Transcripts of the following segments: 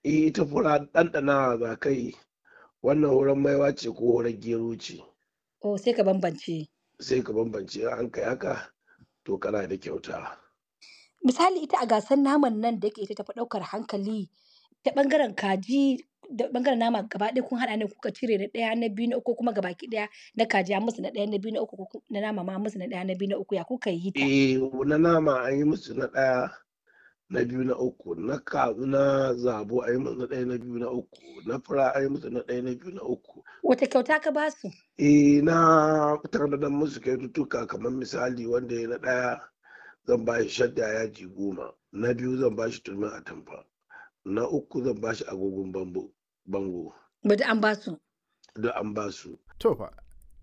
Ita fura ɗanɗanawa za ka yi, wannan hurar maiwa ce ko hurar gero ce. Oh, sai ka bambance. Sai ka bambance in an kai haka to kana da kyauta. Misali ita a gasar naman nan da yake ita tafi ɗaukar hankali ta ɓangaren kaji da ɓangaren nama gaba ɗaya kun haɗa ne kuka cire na ɗaya na biyu na uku kuma gabaki ɗaya na kaji an musu na ɗaya na biyu na uku ko na nama ma an musu na ɗaya na biyu na uku ya kuka yi ta? Eh, na nama an yi musu na ɗaya, na biyu, na uku, na zabo an yi musu na ɗaya, na biyu, na uku, na fura an yi musu na ɗaya, na biyu, na uku. Wace kyauta ka ba su? Eh, na tanadar musu kyaututtuka kamar misali wanda ya na ɗaya zan ba shi shadda yaji 10, na biyu zan ba shi turmin atamfa, na uku zan ba shi agogon bango. Ba duk an ba su. Duk an ba su. To fa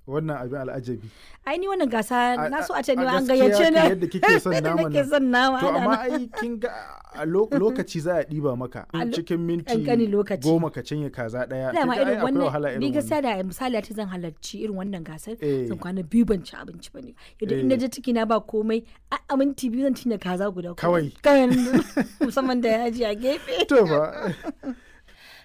wannan abin al'ajabi. Ai ni wannan gasa na so a ce ni ma A an gaskiya gayyace kan ni. yadda kike son Yadda naman nake nan. son nama To ana amma nan. ai kin ga a lokaci za a ɗiba maka A cikin minti ƙanƙanin lokaci. 10 ka cinye kaza ɗaya. Kin Dama ga ai irin akwai wannan wahala ni irin wannan. gaskiya da misali ace zan halarci irin wannan gasar Eh. zan kwana biyu ban ci abinci ba ne. Yadda in Eh. naje ciki na ba komai a minti 2 zan cinye kaza guda kuma. Kawai. Kawai musamman da yaji a gefe. To fa.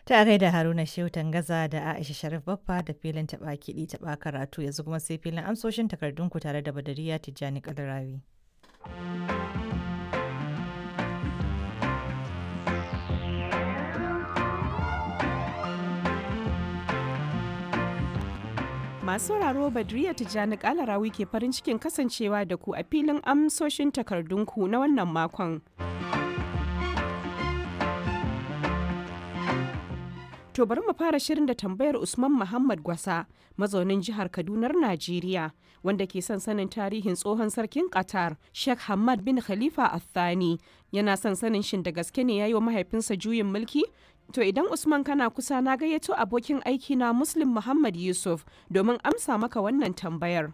Ta gaida Haruna Shehu Tangaza da Aisha Sharif Baffa da filin taɓa kiɗi taɓa karatu yanzu kuma sai filin amsoshin takardunku tare da Badariya Tijjani Kalarawi. Masu sauraro Badriya Tijjani Kalarawi ke farin cikin kasancewa da ku a filin amsoshin takardunku na wannan makon. To bari mu fara shirin da tambayar Usman Muhammad Gwasa, mazaunin jihar Kadunar Najeriya, wanda ke son sanin tarihin tsohon sarkin Qatar, Sheikh Hamad bin Khalifa Al-Thani. Yana son sanin shin da gaske ne ya yi wa mahaifinsa juyin mulki? To idan Usman kana kusa na gayyato abokin aiki na Muslim Muhammad Yusuf domin amsa maka wannan tambayar.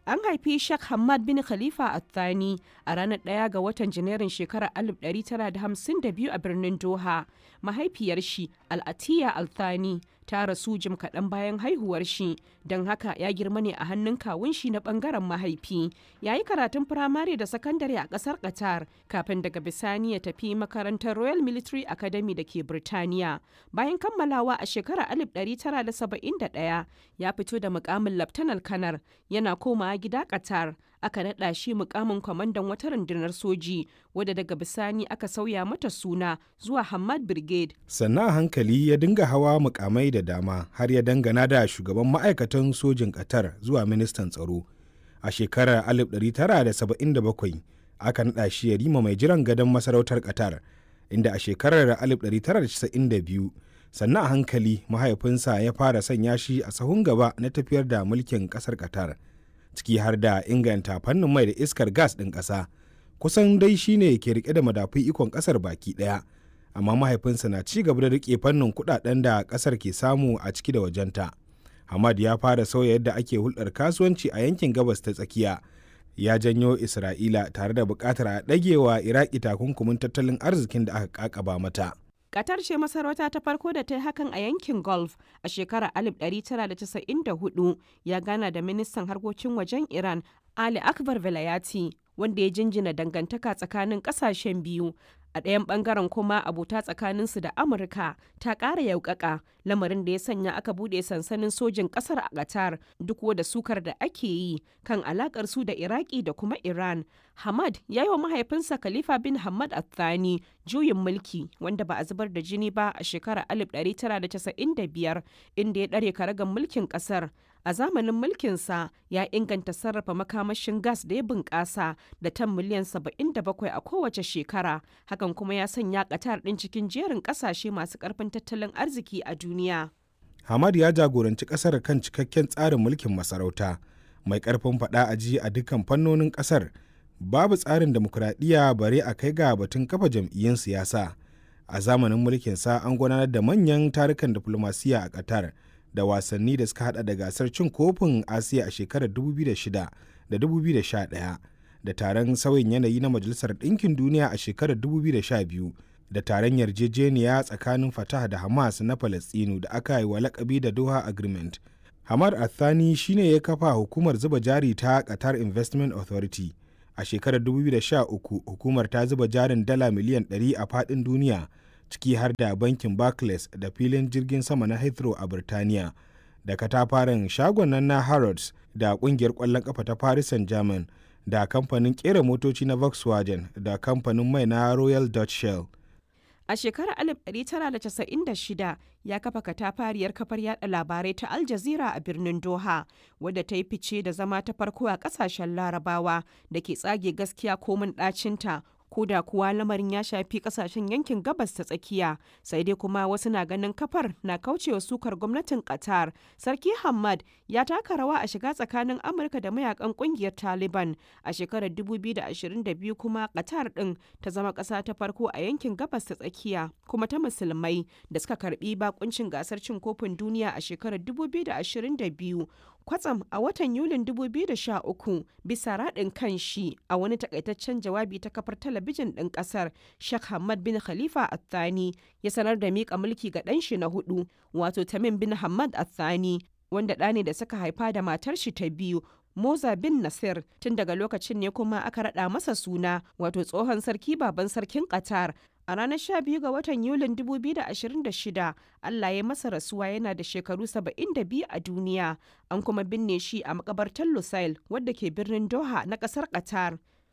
An haifi Sheikh Hamad bin Khalifa Al-Thani a ranar 1 ga watan Janairun shekarar 1952 a birnin Doha. Mahaifiyar shi Al-Atiya Al-Thani ta rasu jim kaɗan bayan haihuwar shi, don haka ya girma ne a hannun kawun shi na ɓangaren mahaifi. Ya yi karatun firamare da sakandare a ƙasar Qatar kafin daga bisani ya tafi makarantar Royal Military Academy da ke Birtaniya. Bayan kammalawa a shekarar 1971 ya fito da mukamin Laftanar Kanar yana komawa gida Qatar. Aka naɗa shi mukamin kwamandan wata rundunar soji wadda daga bisani aka sauya mata suna zuwa Hamad Brigade. Sannan a hankali ya dinga hawa mukamai da dama har ya dangana da shugaban ma'aikatan sojin Qatar zuwa ministan tsaro. A shekarar 1977 aka naɗa shi yarima mai jiran gadon masarautar Qatar, inda a shekarar 1992 sannan a hankali mahaifinsa ya fara sanya shi a sahun gaba na tafiyar da mulkin ƙasar Qatar, ciki har da inganta fannin mai da iskar gas ɗin ƙasa. Kusan dai shine ke rike da madafun ikon ƙasar baki ɗaya. Amma mahaifinsa na ci gaba da rike fannin kudaden da kasar ke samu a ciki da wajenta. Hamad ya fara sauya yadda ake hulɗar kasuwanci a yankin gabas ta tsakiya. Ya janyo Isra'ila tare da buƙatar a ɗagewa Iraki takunkumin tattalin arzikin da aka ƙaƙaba mata. Qatar ce masarauta ta farko da ta yi hakan a yankin Gulf a shekarar 1994 ya gana da ministan harkokin wajen Iran Ali Akbar Velayati wanda ya jinjina dangantaka tsakanin kasashen biyu. A ɗayan ɓangaren kuma abota tsakaninsu da Amurka ta ƙara yaukaka lamarin da ya sanya aka buɗe sansanin sojin ƙasar a Qatar duk da sukar da ake yi kan alaƙar su da Iraki da kuma Iran. Hamad ya yi wa mahaifinsa Khalifa bin Hamad Al-Thani juyin mulki wanda ba a zubar da jini ba a shekarar 1995 inda ya ɗare karagar mulkin ƙasar. A zamanin mulkinsa ya inganta sarrafa makamashin gas da ya bunƙasa da tan miliyan 77 a kowace shekara. Hakan kuma ya sanya Qatar ɗin cikin jerin ƙasashe masu ƙarfin tattalin arziki a duniya. Hamad ya jagoranci ƙasar kan cikakken tsarin mulkin masarauta mai ƙarfin faɗa a ji a dukkan fannonin ƙasar. Babu tsarin demokuraɗiyya bare a kai ga batun kafa jam'iyyun siyasa. A zamanin mulkinsa an gudanar da manyan tarukan diflomasiyya a Qatar da wasanni da suka hada da gasar cin kofin Asiya a shekarar 2006 da 2011 da taron sauyin yanayi na Majalisar Ɗinkin Duniya a shekarar 2012 da taron yarjejeniya tsakanin Fatah da Hamas na Falastinu da aka yi wa lakabi da Doha Agreement. Hamad Athani shine ya kafa hukumar zuba jari ta Qatar Investment Authority. A shekarar 2013 hukumar ta zuba jarin dala miliyan 100 a faɗin duniya. ciki har da bankin Barclays da filin jirgin sama na Heathrow a Birtaniya, da katafaren shagon nan na Harrods da kungiyar ƙwallon ƙafa ta Paris Saint-Germain da kamfanin ƙera motoci na Volkswagen da kamfanin mai na Royal Dutch Shell. A shekarar 1996 ya kafa katafariyar kafar yada labarai ta Al Jazeera a birnin Doha, wadda ta yi fice da zama ta farko a kasashen Larabawa da ke tsage gaskiya komin ɗacinta. Ko da kuwa lamarin ya shafi kasashen yankin gabas ta tsakiya, sai dai kuma wasu na ganin kafar na kaucewa sukar gwamnatin Qatar. Sarki Hamad ya taka rawa a shiga tsakanin Amurka da mayakan kungiyar Taliban a shekarar 2022, kuma Qatar din ta zama ƙasa ta farko a yankin gabas ta tsakiya kuma ta musulmai da suka karbi bakuncin gasar cin kofin duniya a shekarar 2022. Kwatsam a watan Yulin 2013, bisa raɗin kan shi a wani takaitaccen jawabi ta kafar talabijin ɗin ƙasar, Sheikh Hamad bin Khalifa Athani ya sanar da miƙa mulki ga ɗan shi na hudu, wato Tamim bin Hamad Athani, wanda ɗa ne da suka haifa da matar shi ta biyu, Moza bin Nasir. Tun daga lokacin ne kuma aka raɗa masa suna, wato tsohon sarki baban sarkin Qatar. A ranar 12 ga watan Yulin 2026, Allah ya masa rasuwa yana da shekaru 72 a duniya. An kuma binne shi a makabartar Lusail wadda ke birnin Doha na kasar Qatar.